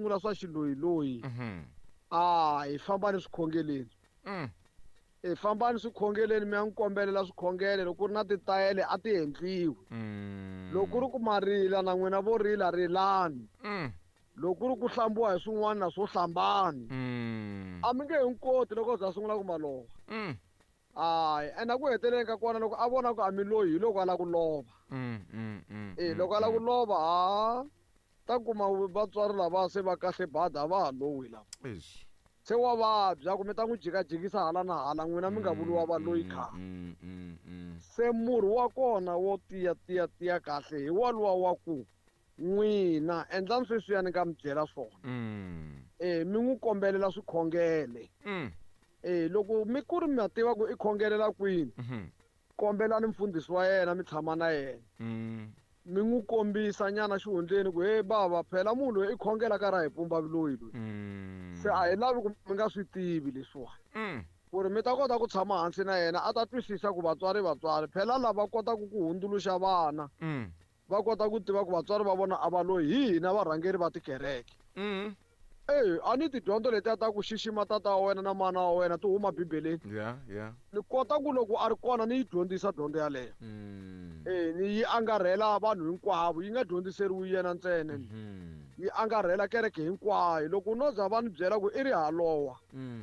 sungula swa xiloyiloyi a hi fambani swikhongeleni. Hi fambani swikhongeleni mi ya n'wi kombelela swikhongelo, loko ku ri na titayele a ti endliwi. Loko ku ri ku ma rila na n'wina vo rila rilani. Loko ku ri ku hlambiwa hi swin'wana na swo hlambani. A mi nge he n'wi koti loko a za a sungula ku ma lova. Hayi, ene ku heteleleni ka kona loko a vona ku a mi loyi hi loko a lava ku lova. E loko a lava ku lova ha ta kuma vatswari lava se va kahle bada a va ha lowi lava. Se wa vabya ku mi ta n'wi jikajikisa hala na hala n'wina mi nga vuriwa valoyi khale. Se murhi wa kona wo tiya tiya tiya kahle hi waluwa wa ku n'wina endlani sweswiya ni nga mi byela swona. E mi n'wi kombelela swikhongele. E loko mi ku ri mi tiva ku i khongelela kwini, kombelani mfundhisi wa yena mi tshama na yena. Mi n'wi kombisa nyana xihundleni ku he bava phela munhu loyi i khongela ka ra hi pumba vuloyi loyi. Se a hi lavi ku mi nga swi tivi leswiwani. Ku ri mi ta kota ku tshama hansi na yena a ta twisisa ku vatswari vatswari phela lava kotaka ku hundzuluxa vana va kota ku tiva ku vatswari va vona a va loyi hi hina varhangeri va tikereke. E a ni tidyondzo letiya ta ku xixima tata wa wena na mana wa wena ti huma bibeleni. Ni kota ku loko a ri kona ni yi dyondzisa dyondzo yaleyo. E ni yi angarhela vanhu hinkwavo, yi nga dyondziseriwi yena ntsena. Yi angarhela kereke hinkwayo. Loko no za va ni byela ku i ri halowa,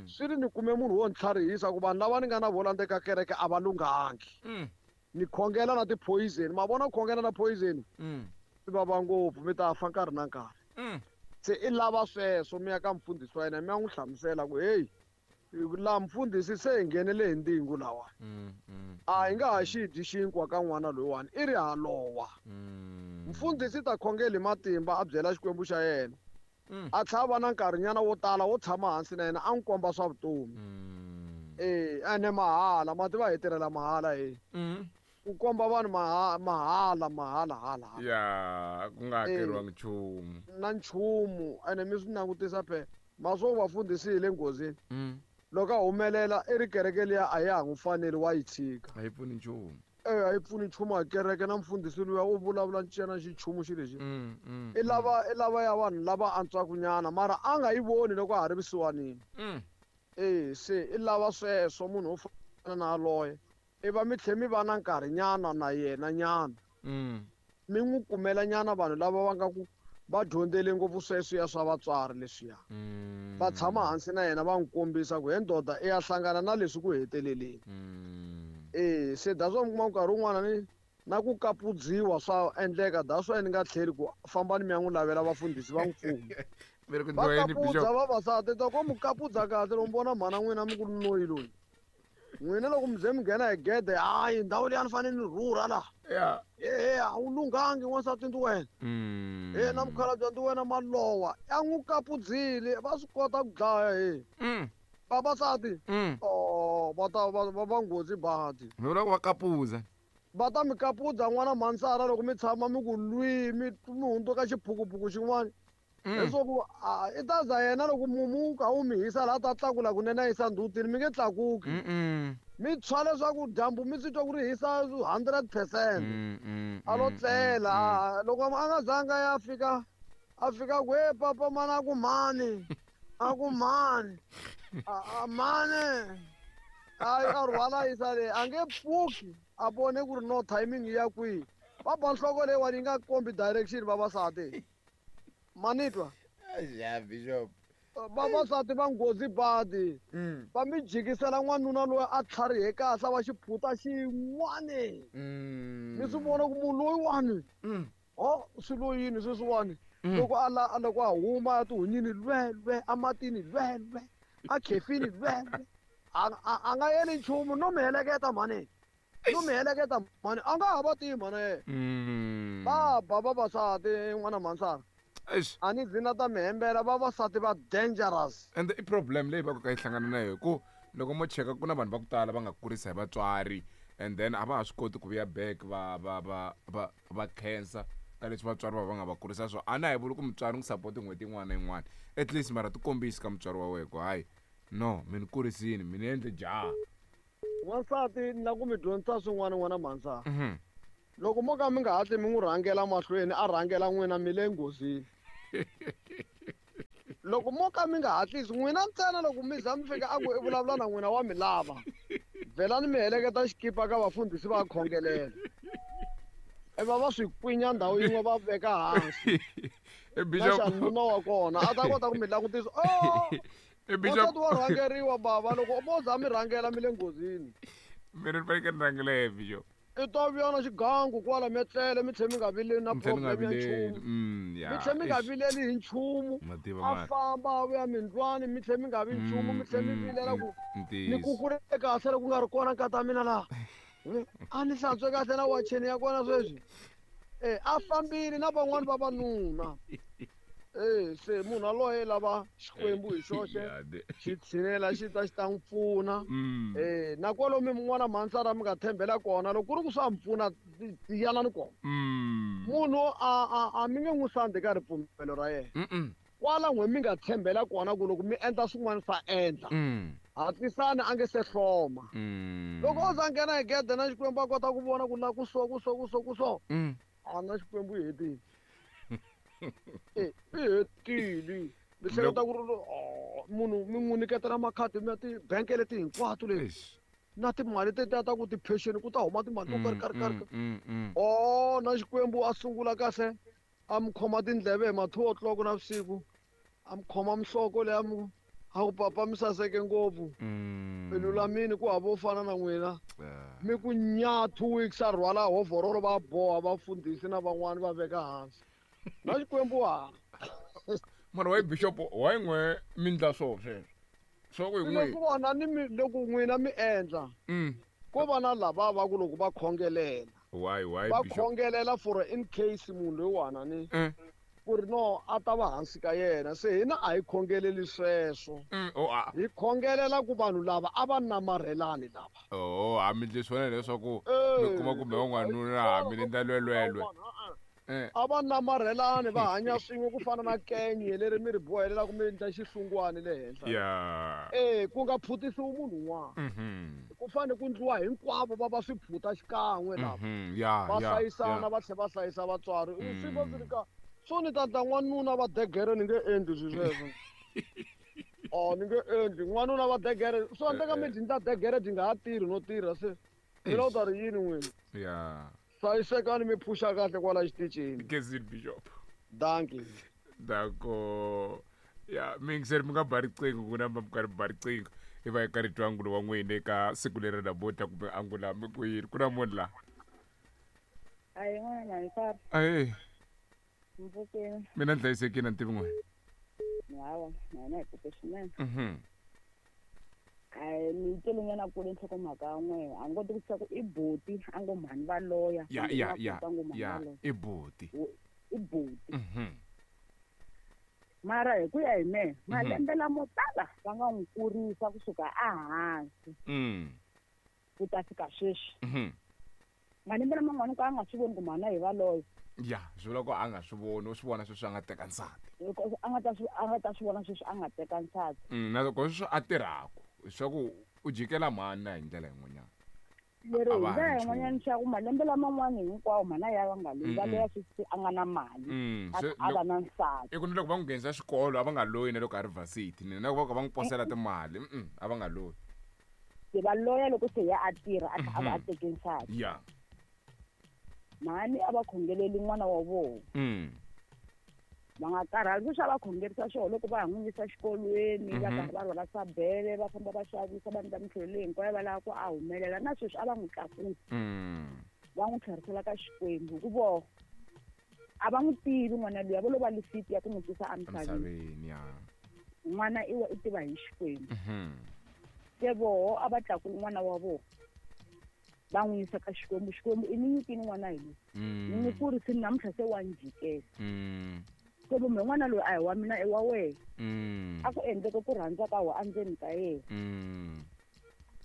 swi ri ni kume munhu wo ni tlharihisa ku vanhu lava ni nga na vona ndzeni ka kereke a va lunghangi. Ni khongela na ti-poison, ma vona ku khongela na poison swi vava ngopfu, mi ta fa nkarhi na nkarhi. Se i lava sweswo mi ya ka mfundhisi wa yena mi ya n'wi hlamusela ku heyi laha mfundhisi se hi nghenele hi ndingu lawa. A hi nga ha xi dyi xinkwa ka n'wana loyiwani, i ri halowa. Mfundhisi ta khongela hi matimba a byela Xikwembu xa yena. A tlhela va na nkarhinyana wo tala wo tshama hansi na yena a n'wi komba swa vutomi. E ene mahala, ma tiva hi tirhela mahala he. Ku komba vanhu mahala mahala hala hala. Ya, ku nga hakeriwangi nchumu. Na nchumu, ene mi swi langutisa phela. Ma swo vafundhisi hi le nghozini. Loko a humelela i ri kereke liya a ya ha n'wi faneli wa yi tshika. A yi pfuni nchumu. E a yi pfuni nchumu a kereke na mfundhisi luya u vulavula ntsena xichumu xi lexi. I lava i lava ya vanhu lava antswaka nyana mara a nga yi voni loko a ha ri vusiwanini. E se i lava sweswo munhu wo fana na yaloye. I va mi tlhe mi va na nkarhinyana na yena nyana. Mi n'wi kumela nyana vanhu lava va nga ku va dyondzele ngopfu sweswiya swa vatswari leswiya. Va tshama hansi na yena va n'wi kombisa ku he ndoda i ya hlangana na leswi ku heteleleni. E se that's why mi kuma nkarhi wun'wana ni na ku kapudziwa swa endleka, that's why ni nga tlheli ku fambani mi ya n'wi lavela vafundhisi va n'wi pfuna. Va kapudza vavasati, ta ko mi kapudza kahle loko mi vona mhana n'wina mi ku noyi loyi. N'wina loko mi ze mi nghena hi gede, hayi ndhawu leyi a ni fanele ni rhurha laha. E a wu lunghangi n'wansati ndzi wena. E na mukhalabye ndzi wena malowa. A n'wi kapudzile, va swi kota ku dlaya he. Vavasati, oh va ta va va nghozi badi. Mi vula ku va kapudza. Va ta mi kapudza n'wana mhansara loko mi tshama mi ku lwi mi mi hundzuka xiphukuphuku xin'wana. Leswaku i ta za yena loko mumu wu kha wu mi hisa laha ta tlakula kunene a yisa ndzhutini mi nge tlakuki. Mi tshwa leswaku dyambu mi swi twa ku ri hisa 100%. A lo tlela loko a nga zanga ya fika a fika ku he papa mana a ku mhani a ku mhani a mhani a rhwala yisa le a nge pfuki a vone ku ri no timing ya kwihi. Va ba nhloko leyiwani yi nga kombi direction vavasati. Manitwa. Ya bishop. Vavasati va nghozi badi. Va mi jikisela n'wanuna loyi a tlharihe kahle va xiphuta xin'wani. Mi swi vona ku munhu loyiwani. Ho swi lo yini sweswiwani. Loko a la loko a huma a tihunyini lwe lwe amatini lwe lwe a khefini lwe lwe. A nga yeli nchumu no mi heleketa mhani. No mi heleketa mhani a nga ha va tivi mhana yena. Va ba vavasati n'wana mhansana. A ni zi na ta mi hembela vavasati va dangerous. And i problem leyi va ku ka yi hlangana na yona ku loko mo cheka ku na vanhu va ku tala va nga kurisa hi vatswari and then a va ha swi koti ku vuya back va va va va va khensa ka leswi vatswari va va nga va kurisa swona. A na hi vuli ku mutswari n'wi support n'hweti yin'wana na yin'wana at least mara ti kombisi ka mutswari wa wena ku hayi no mi ni kurisini mi ni endle jaha. Wansati ni lava ku mi dyondzisa swin'wana n'wana mhansana. Loko mo ka mi nga hatli mi n'wi rhangela mahlweni a rhangela n'wina mi le nghozini. Loko mo ka mi nga hatlisi n'wina ntsena loko mi za mi fika a ku i vulavula na n'wina wa mi lava vhelani mi heleketa xikipa ka vafundhisi va khongelela iva va swi kwinya ndhawu yin'we va veka hansi na xanuna wa kona a ta kota ku mi langutisa o wansati wa rhangeriwa bava loko mo za mi rhangela mi le nghozini. Mina ni fanekele ni rhangela yena bishop. I ta vuya na xigangu kwala mi etlele mi tlhe mi nga vileli na problem ya nchumu. Mi tlhe mi nga vileli hi nchumu. A famba a vuya mindlwani mi tlhe mi nga vi nchumu mi tlhe mi vilela ku ni kukule kahle loko ku nga ri kona nkata mina laha. A ni hlantswe kahle na wacheni ya kona sweswi. E a fambile na van'wani vavanuna. E se munhu aloye lava Xikwembu hi xoxe xi tshinela xi ta xi ta n'wi pfuna. E na kwalomu mun'wana mhansara mi nga tshembela kona loko ku ri ku swa mi pfuna yanani kona. Munhu a mi nge n'wi sandzi ka ripfumelo ra yena. Kwala n'we mi nga tshembela kona ku loko mi endla swin'wana swa endla. Hatlisani a nge se hloma. Loko o za nghena hi gede na Xikwembu a kota ku vona ku la ku so ku so ku so ku so. A na Xikwembu i hetile. E i hetile. Mi hleketa ku ri munhu mi n'wi nyiketela makhadi ya tibank leti hinkwato leti. Na timali tetiya ta ku ti-pension ku ta huma timali to karhi karhi karhi. Oh na Xikwembu a sungula kahle a mi khoma tindleve hi ma 2 o'clock na vusiku a mi khoma mihloko leyi a mi a ku papa mi saseke ngopfu mi lulamile ku hava wo fana na n'wina mi ku nya 2 weeks a rhwala hovorolo va boha vafundhisi na van'wani va veka hansi na Xikwembu ha mara why bishop why n'we mi ndla swo sweswo swa ku hi n'we loko vona ni mi loko n'wina mi endla ko va na lava va ku loko va khongelela why why va khongelela for in case munhu loyiwana ni ku ri no a ta va hansi ka yena se hina a hi khongeleli sweswo hi khongelela ku vanhu lava a va namarhelani lava oh a mi ndli swona leswaku mi kuma kumbe van'wanuna mi endla lwelwelwe a va namarhelani va hanya swin'we ku fana na kenye leri mi ri bohelelaka mi endla xihlungwani le henhla e ku nga phutisiwi munhu un'wana ku fanele ku ndliwa hinkwavo va va swiphuta xikan'we lava va hlayisana va tlhela va hlayisa vatswari swi va swi ri ka so ni ta ndla n'wanuna va degere ni nge endli swi sweswo o ni nge endli n'wanuna va degere swo endleka mi byi ndla degere byi nga ha tirhi no tirha se mina u ta ri yini n'wina ya hlayisekani mi phuxa kahle kwala xitichini Gezini bishop danki dako ya miyingiseri mi nga ba riqingho ku namba mi karhi ba riqingho i va hi karhi twa angulo wa n'wina eka siku leri namuntlha kumbe angula mi ku yini ku na munhu laha Ayi n'wana Mhansara ahe mpfukeni mina ni hlayisekile ni tivi n'wina hawa na hina hi pfuke swinene Ayi ni twele nyana kule nhlokomhaka ya n'wehe a ni koti ku tiva ku i buti a ngo mhani va loya ya kumbe i ya makoti ya a ngo mhani ya va loya i buti I buti mara hi ku ya hi mehe malembe lamo tala va nga n'wi kurisa kusuka ehansi ku ta fika sweswi malembe laman'wana ku a nga swi voni ku mhana hi va loya ya swi vula ku a nga swi voni u swi vona sweswi a nga teka nsati a nga ta swi a nga ta swi vona sweswi a nga teka nsati na loko sweswi a tirhaku swa ku u jikela mhani na hi ndlela yin'wanyana leri hi ndlela yin'wanyana swa ku malembe laman'wana hinkwawo mhana ya va nga loyi va loya sweswi a nga na mali a va na nsati i ku ni loko va n'wi nghenisa xikolo a va nga loyi na loko a ri varsity ni na loko va ka va n'wi posela timali a va nga loyi se va loya loko se ya a tirha a a va a teke nsati ya mhani a va khongeleli n'wana wa vona va nga karhali sweswi a va khongerisa swona loko va ha n'wi yisa xikolweni va karhi va rhwala sabele va famba va xavisa va endla mintlhelo leyi hinkwayo va lava ku a humelela na sweswi a va n'wi tlakusa va n'wi tlherisela ka Xikwembu hi ku voho a va n'wi tivi n'wana luya vo lo va lisiti ya ku n'wi tisa emisaveni n'wana i wa i tiva hi Xikwembu se voho a va tlakuli n'wana wa vona va n'wi yisa ka Xikwembu Xikwembu i ni nyikini n'wana hi loyi ni n'wi kurisini namuntlha se wa ni jikela Xikwembu me n'wana loyi a hi wa mina i wa wena a ku endleke ku rhandza ka wena endzeni ka yena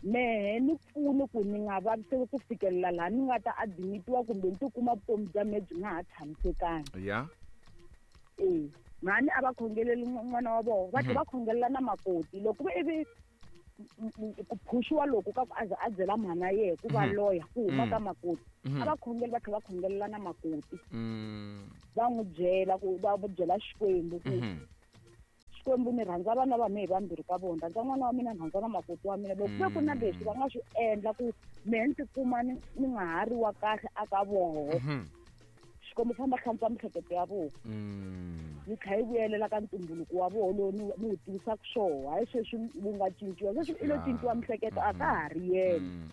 mehe ni pfuni ku ni nga vaviseki ku fikelela laha ni nga ta admitiwa kumbe ni tikuma vutomi bya mehe byi nga ha tshamisekanga ya e mhani a va khongeleli n'wana wa vona va tlhela va khongelela na makoti loko ivi ku phuxiwa loko ka ku a ze a byela mhana yehe ku va loya ku huma ka makoti a va khongeli va tlhela va khongelela na makoti va n'wi byela ku va byela Xikwembu ku Xikwembu ni rhandza vana va mehe vambirhi ka vona, rhandza n'wana wa mina, ni rhandza na makoti wa mina. Loko ku na leswi va nga swi endla ku mehe ni tikuma ni nga ha ri wa kahle aka voho, Xikwembu famba hlantswa mihleketo ya vona, yi kha yi vuyelela ka ntumbuluko wa voho lowu ni wu tivisaka swoho. Hayi sweswi wu nga cinciwa, sweswi i lo cinciwa mihleketo, a ka ha ri yena.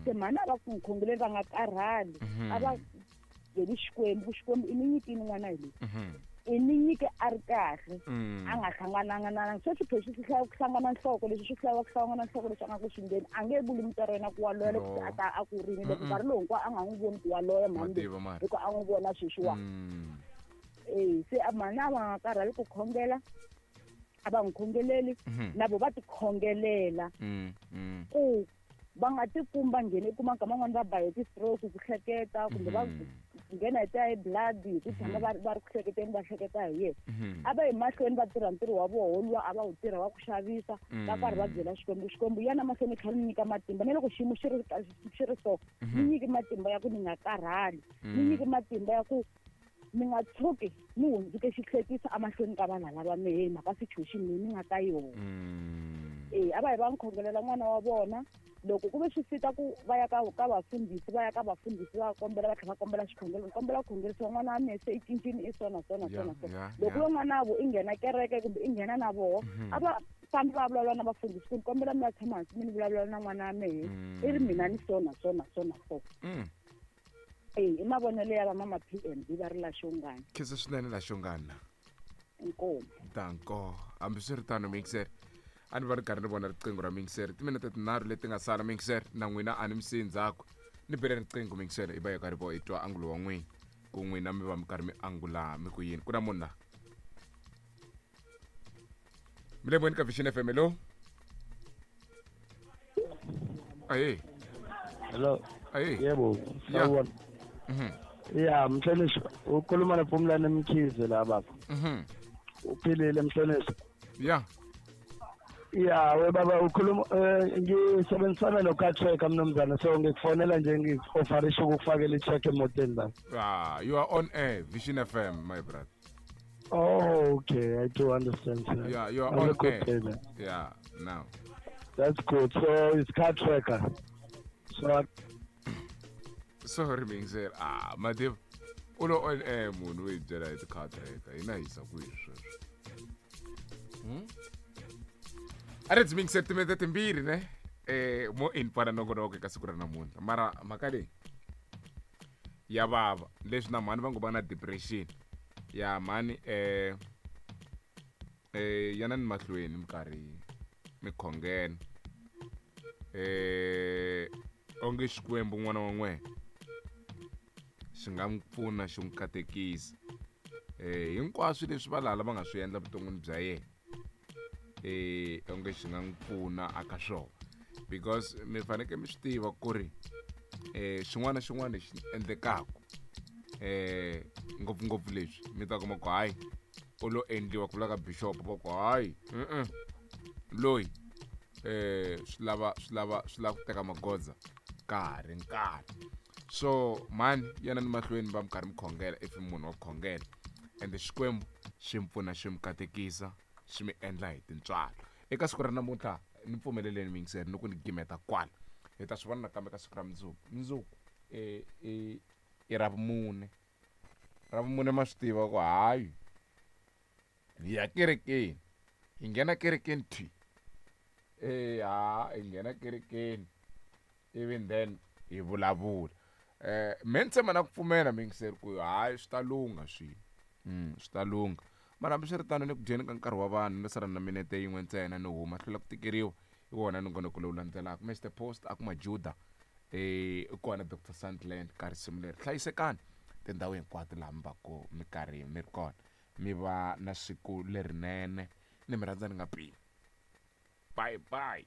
Se mhani a va ku khongeleni va nga karhali, a va byeli Xikwembu, Xikwembu i ni nyikini n'wana hi loyi, i ni nyike a ri kahle, a nga hlangananga na sweswi phexi swi hlaya ku hlangana nhloko, leswi swi hlaya ku hlangana nhloko leswi a nga ku swi ndleni, a nge vuli mutswari wa yena ku wa loya loko a ta a kurini, loko nkarhi lowu hinkwawo a nga n'wi voni ku wa loya mhani loyi, hikuva a n'wi vona sweswiwa. Se mhani a va nga karhali ku khongela, a va n'wi khongeleli, na vo va ti khongelela ku va nga tikumi va nghene, i kuma nkama n'wana va ba hi ti-stroke ku hleketa, kumbe va nghena hi ti-high blood hi ku tshama va ri ku hleketeni, va hleketa hi yena. A va yi mahlweni va tirha ntirho wa voho luwa a va wu tirha wa ku xavisa, va karhi va byela Xikwembu, Xikwembu yana mahlweni kha ni nyika matimba, na loko xiyimo xi ri so, ni nyiki matimba ya ku ni nga karhali, ni nyiki matimba ya ku ni nga tshuki ni hundzuke xihlekisa emahlweni ka vanhu lava mehe mhaka situation leyi ni nga ka yona. A va hi va n'wi khongelela n'wana wa vona, loko ku ve swi fika ku va ya ka vafundhisi, va ya ka vafundhisi va kombela, va tlhela va kombela xikhongelo, ni kombela ku khongerisiwa n'wana wa mehe se i cincile, i so na so na so na so. Loko ve n'wana vo i nghena kereke kumbe i nghena na voho, a va fambi va vulavula na vafundhisi ku ni kombela mi va tshama hansi mi ni vulavula na n'wana wa mehe, i ri mina ni so na so na so na so. I mavonelo ya va mama PMB va ri laxongana. Khensa swinene laxongana. Inkomu. Danko. Hambiswiritano mixer, a ni va ri karhi ni vona riqingho ra mixer, timinete tinharhu leti nga sala mixer, na n'wina a ni mi siyi ndzhaku, ni bele riqingho mixer, hi va hi karhi vo hi twa angulo wa n'wina, ku n'wina mi va mi karhi mi angula mi ku yini. Ku na munhu la mi le moyeni ka Vision FM. Hello. Ahe. Hello. Ahe. Yebo, sawubona. Ya, mhlonishwa, ukhuluma noPhumlani Mkhize la baba. Uphilile mhlonishwa? Ya. Ya, we baba, ukhuluma ngisebenzisana no-car tracker mnumzane, so ngikufonela nje ngi-offerisha ukukufakela i-check emotweni baba. Ah, you are on air, Vision FM, my brother. Oh, okay, I do understand, sir. Yeah, you are Have a on good air. day, man. Yeah, now. That's good. So it's car tracker. So Sorry, Mingzer. Ah, Madev. U lo on air munhu hi byela hi ti-car tracker. Hina hisa kwihi sweswo? A ri byi timinete timbirhi ne? Mo in pana nongonoko eka siku ra namuntlha. Mara mhaka leyi ya vava, leswi na mhani va ngo va na depression. Ya mhani yana ni mahlweni minkarhi mi khongela. Onge Xikwembu n'wana wa n'wena xi nga n'wi pfuna, xi n'wi katekisa. Hinkwaswo leswi valala va nga swi endla vuton'wini bya yena, onge xi nga n'wi pfuna aka swona, because mi fanekele mi swi tiva ku ri xin'wana na xin'wana lexi endlekaka, ngopfungopfu leswi mi ta kuma ku hayi u lo endliwa, ku vula ka bishop va ku hayi loyi swi lava swi lava swi lava ku teka magoza ka ha ri nkarhi. So mhani yana ni mahlweni va mi karhi mi khongela, if munhu wa khongela, ende Xikwembu xi mi pfuna, xi mi katekisa, xi mi endla hi tintswalo. Eka siku ra namuntlha ni pfumeleleni miyingiseri ni ku ni gimeta kwala, hi ta swi vona nakambe ka siku ra mundzuku. Mundzuku i Ravumune. Ravumune ma swi tiva ku hayi hi ya kerekeni, hi nghena kerekeni thwi, ha hi nghena kerekeni even then hi vulavula. Me ni tshemba na ku pfumela miyingiseri ku hayi swi ta lungha swilo, swi ta lungha. Mara hambiswiritano ni ku dyeni ka nkarhi wa vanhu, ni sala na minete yin'we ntsena ni huma, hlwela ku tikeriwa hi wona nongonoko lowu landzelaka. Mr Post a ku Majuda, i kona Dr Sandland ka risimu leri. Hlayisekani tindhawu hinkwato laha mi va ku mi karhi mi ri kona, mi va na siku lerinene, ni mi rhandza ni nga pimi. Bye bye.